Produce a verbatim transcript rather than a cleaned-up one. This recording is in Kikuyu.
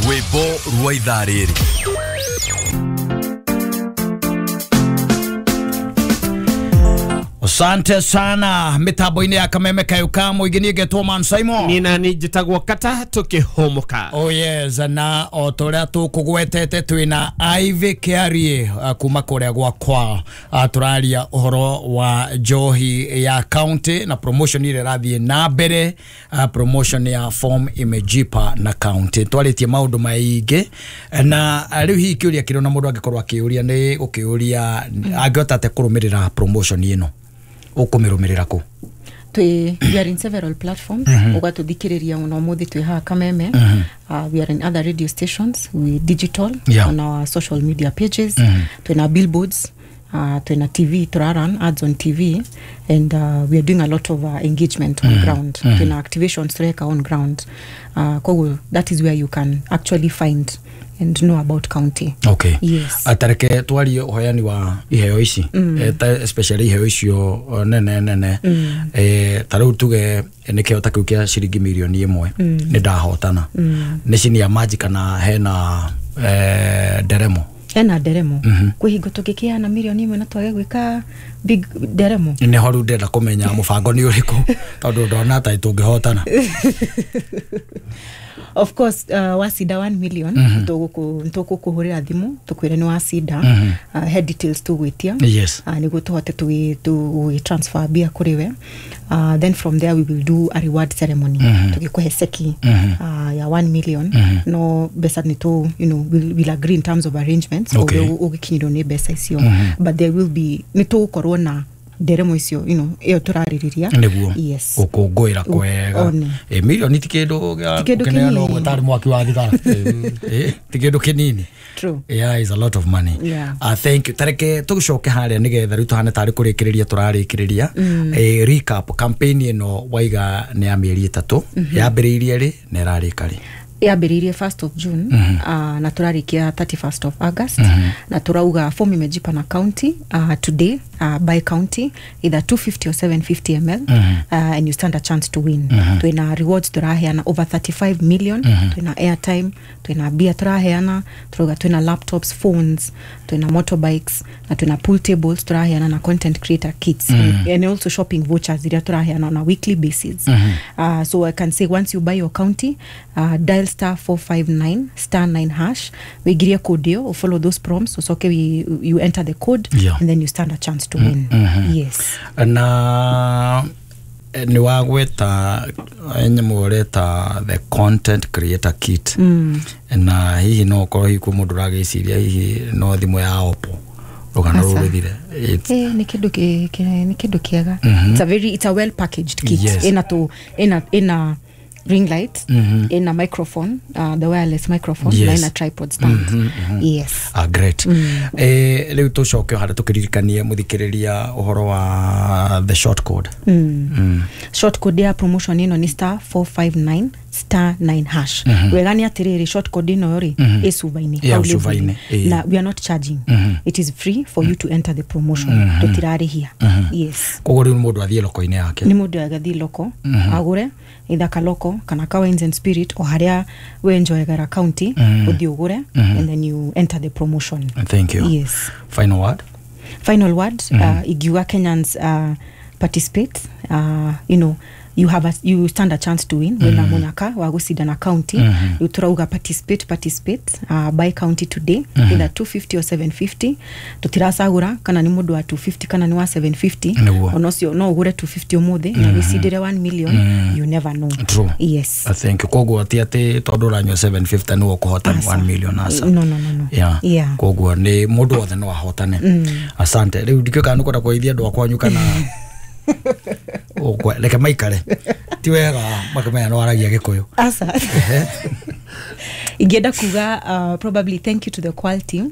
Rwĩmbo rwa ithaa rĩrĩ. Asante sana mitambo-inĩ ya Kameme Kayo ka mũingĩ. Niĩ ngetwo Man Simon. Nina ni njĩtagwo Kata tũkĩhũmũka. Oh yes, na o ta ũrĩa tũkũgwetete twĩna Ivy Kiarie uh, kuma kũrĩa gwakwa. uh, tũraria ũhoro wa njohi ya county na promotion ĩrĩa ĩrathiĩ na mbere, uh, promotion ya form imejipa na county. Twarĩtie maũndũ maingĩ na rĩu hihi kĩũria kĩrĩa ona mũndũ angĩkorwo akĩũria nĩ gũkĩũria angĩhota atĩa kũrũmĩrĩra promotion ĩno, ũkũmĩrũmĩrĩra kũ? Twi we are in several platforms. mm -hmm. Ugatũthikĩrĩria mũno mũthĩ twĩ haha Kameme. mm -hmm. uh, we are in other radio stations, we digital, Yeah. on our social media pages. mm -hmm. Twĩna billboards, uh, twĩna T V, tũraran ads on T V, and uh, we are doing a lot of uh, engagement on mm -hmm. ground. mm -hmm. Twĩna activations tũreka on ground, uh, koguo that is where you can actually find and know about county. Okay. Yes. Atareke twarie ũheani wa iheo ici, mm. eh, ta especially iheo icio eh, nene nene, mm. eh, ta rĩu tuge nĩ kĩheo ta kĩu kĩa ciringi mirioni ĩmwe, mm. nĩ ndahotana, mm. nĩ cini ya maji kana hena eh, nderemo? Hena nderemo. mm -hmm. Kwĩ hingo tũngĩkĩheana mirioni ĩmwe na twage gwĩka big nderemo. Nĩ ho rĩu ndĩrenda kũmenya mũbango nĩ ũrĩkũ tondũ ndona ta tũngĩhotana. Of course, uh, wacinda one million, mm -hmm. tũgũkũhũrĩra thimũ tũkwĩre nĩ wacinda. mm -hmm. uh, head details tũgwĩtia. Yes. uh, nĩguo tũhote tũgĩ transfer mbia kũrĩ we. uh, then from there we will do a reward ceremony, mm -hmm. tũgĩkũhe ceki, mm -hmm. uh, ya one million. mm -hmm. No mbeca nĩ tũ you know we'll, we'll agree in terms of arrangements. Okay. Ũgĩkinyĩrwo nĩ mbeca icio. mm -hmm. But there will be, nĩ tũgũkorwo na nderemo icio, you know ĩyo tũrarĩrĩria. Nĩguo. Yes. Gũkũngũĩra kwega. One. Ĩ mirioni ti kĩndũ gĩa Ti kĩndũ gũkeneana kĩnini. Ũguo tarĩ mwaki wa thigara. Ĩ, ti kĩndũ kĩnini. True. Yeah, is a lot of money. Yeah. Uh, thank you. Tareke tũgĩcoke harĩa nĩgetha rĩu tũhane tarĩ kũrĩkĩrĩria tũrarĩkĩrĩria. mm. Eh, recap campaign ĩno waiga nĩ ya mĩeri ĩtatũ. mm -hmm. Yambĩrĩirie rĩ na ĩrarĩka rĩ? Yambĩrĩirie first of June, mm -hmm. uh, na tũrarĩkia thirty-first of August. mm -hmm. Na tũrauga form imejipa na county uh, today, uh, by county either two fifty or seven fifty milliliters, mm -hmm. uh, and you stand a chance to win. mm -hmm. Twĩna rewards tũraheana over thirty-five million. mm -hmm. Twĩna airtime, twĩna beer tũraheana, tũrauga twĩna laptops, phones, twĩna motorbikes na twĩna pool tables tũraheana na content creator kits, mm -hmm. and, and also shopping vouchers iria tũraheana on a weekly basis. mm -hmm. uh, so I can say once you buy your county, uh, dial star four five nine star nine hash, wĩingirie code ĩyo, follow those prompts, ucoke we, you enter the code, Yeah. and then you stand a chance to win. mm -hmm. Yes. Na eh, nĩ wagweta eh, nyamũ ũreta the content creator kit, mm. na hihi no ũkorwo hihi kwĩ mũndũ ũragĩciria hihi no thimũ ya Oppo rũgano Aca. rũu rũthire. It's- Eh, nĩ kĩndũ kĩ- kĩ- nĩ kĩndũ kĩega. It's a very it's a well packaged kit. Yes. Ĩna tũ ĩna ĩna ring light, ĩna microphone, uh, the wireless microphone, Yes. na ĩna tripod stand. Yes. Ah, great. mm. eh, rĩu tũcoke o harĩa tũkĩririkanie mũthikĩrĩria ũhoro wa the short code. mm. Mm. short code ya promotion ĩno nĩ star four five nine star nine hash. mm -hmm. Wega nĩ atĩrĩrĩ, short code ĩno rĩ, mm -hmm. ĩ cuba-inĩ, Yeah, hau cuba-inĩ, label-inĩ. ĩĩ. Na we are not charging. mm -hmm. It is free for you to enter the promotion. mm -hmm. Tũtirarĩhia. mm -hmm. Yes. Koguo rĩu mũndũ athiĩ loko-inĩ yake. Nĩ mũndũ agathiĩ loko, mm -hmm. agũre either kaloko kana ka wines and spirit o harĩa we enjoyagĩra county, mm -hmm. ũthiĩ ũgũre, mm -hmm. and then you enter the promotion. Thank you. Yes. Final word? Final word, mm -hmm. uh, igiuga Kenyans, uh, participate. uh, you know you have a, you stand a chance to win. mm -hmm. Wina munyaka wa gucindana county. mm -hmm. Turauga participate, participate, uh, buy county today, mm -hmm. either two fifty or seven fifty. Tutiracagura kana ni mundu wa two fifty kana ni wa seven fifty. Nĩguo. Ona ũcio no ũgũre two fifty ũmũthĩ na wĩcindĩre one million. You never know. True. Yes. I think koguo ti atĩ tondũ ũranyua seven fifty nĩwe ũkũhota Aca. one million, aca. No, no, no, no. Yeah. Yeah. Koguo nĩ mũndũ wothe no ahotane. Asante. Rĩu ndikĩũĩ kana nĩũkwenda kũgeithia andũ a kwanyu kana Ũkwe- reke maikare ti wega makĩmenya no waragia Gĩkũyũ. Aca, ingĩenda kuga uh, probably thank you to the quality team.